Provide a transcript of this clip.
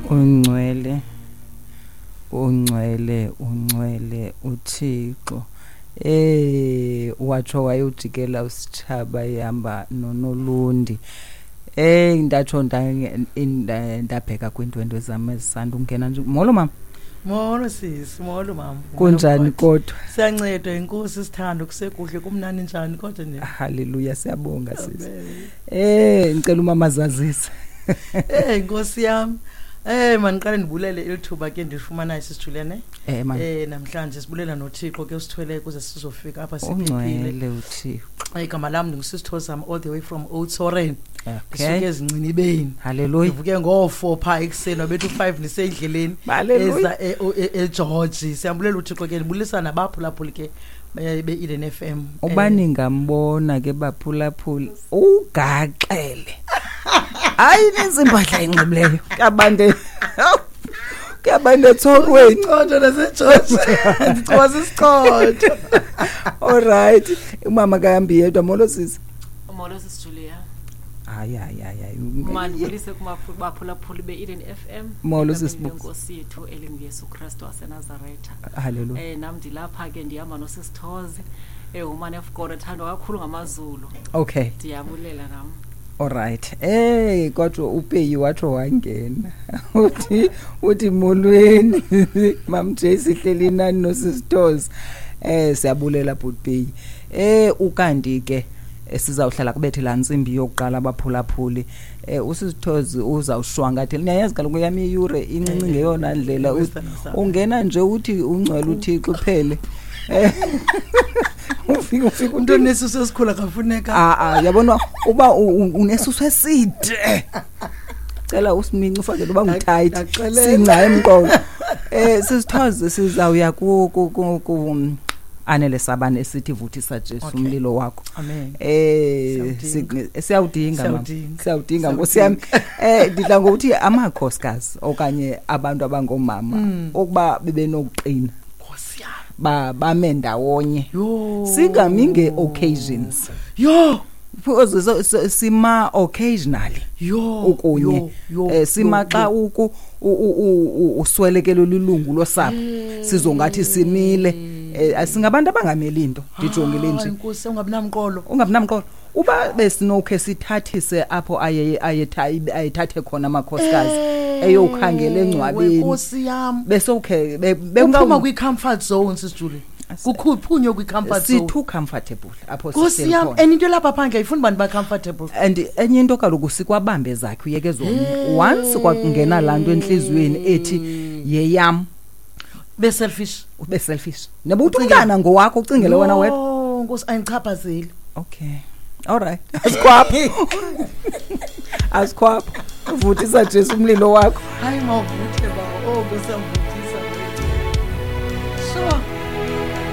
Ungcwele, ungcwele, ungcwele uThixo. Watsho wayojikela usitshaba ehamba noNolundi. Ndatsho ndabheka kwiindwendwe zam ezisanda ungena nje. Molo mama. Molo sisi, molo mama. Kunjani kodwa? Siyancedwa inkosi sithando, kusekuhle kumnandi njani kodwa nje. Haleluya, siyabonga sisi. Ngicela umama azazise. Inkosi yami. Maniqale ndibulele elithuba ke ndifumanayo sisijulene. Namhlanje sibulela noThixo ke usithwele kuze sizofika apha siphephile. Ungcwele uThixo. Igama lam ndingusisithozam all the way from Oudtshoorn. Ndisuke ezincinibeni. Hallelujah. Ndivuke ngo-4 phaa ekuseni, wabetha u-5 ndisendleleni. Hallelujah. Eza eGeorge. Siyambulela uThixo ke, ndibulisa nabaphulaphuli ke be-Eden FM. Uba ningambona ke baphulaphuli, ugaxele. Hayi, ininzi impahla enxibileyo. Kuyabantu etshorweni. Isichotho naseGeorge. Ndicoba sisichotho. All right. Umama kahambi yedwa. Molo sisi. Molo sisi Julia. Hayi, hayi, hayi, hayi. Mandibulise kumaphulaphuli be-Eden FM. Molo Egameni sisi Busi. lenkosi yethu elinguYesu Kristu waseNazaretha. Hallelujah. Nam ndilapha ke ndihamba nosisithozi. Woman of God, ethandwa kakhulu ngamaZulu. Okay. Ndiyabulela nam. All right. Kodwa uPeyi watsho wangena. Uthi molweni. Mam J sihleli nani nosisithozi. Siyabulela bhuti Peyi. Ukanti ke sizawuhlala kubethe laa ntsimbi yokuqala abaphulaphuli. Usisithozi uzawushwankathela. Niyayazi kaloku yam iyure incinci ngeyona ndlela. Ungena nje uthi ungcwele uThixo uphele. Ufika Umntu onesisu esikhulu akafuneka. Yabona uba unesisu eside. Cela usimince ufake uba ngutight. Ndaxelela. Singca emqolo. Sisithoze sizawuya ku Anele Sabane esithi vuthisa Jesu Okay. umlilo wakho. Amen. Siyawudinga. Siyawudinga, mama. Siyawudinga. Siyawudinga, Nkosi yami. Ndidla ngokuthi amakhosikazi okanye abantu abangoomama ukuba bebenokuqina. Nkosi yami. Bame ndawonye. Yho. Singami nge-occasions. Yho. Because sima occasionally. Yho, Ukunye. yho, yho, Sima yho, xa yho. uswelekelwe lilungu losapho. Sizongathi simile. Singabantu abangameli into, ndijongile Hayi, nje. Nkosi, ungabi namqolo. Ungabi namqolo. Uba besinokhe sithathise apho ayethathe khona amakhosikazi, eyokhangela engcwabeni. Nkosi yam. Besokhe, Uphuma kwi-comfort zone, Sis Julie. Kukhuphunywe kwi-comfort Si zone. too comfortable apho Nkosi sihleli yam, khona. and into elapha phandle ayifuni bantu ba-comfortable. And enye into kaloku sikwabambe zakhe uyeke zomnye. Once kwakungena laa nto entliziyweni ethi yeyam. Ube selfish. Ube selfish. Noba uthi Ucingele. umntana ngowakho, ucingele wena wedwa. Yho, Nkosi, ayindichaphazeli. Okay. All right. Asikhwapho. Asikhwapho. Vuthisa Jesu umlilo wakho. Hayi, mawuvuthe bawo. Oh, Nkosi yam, vutha.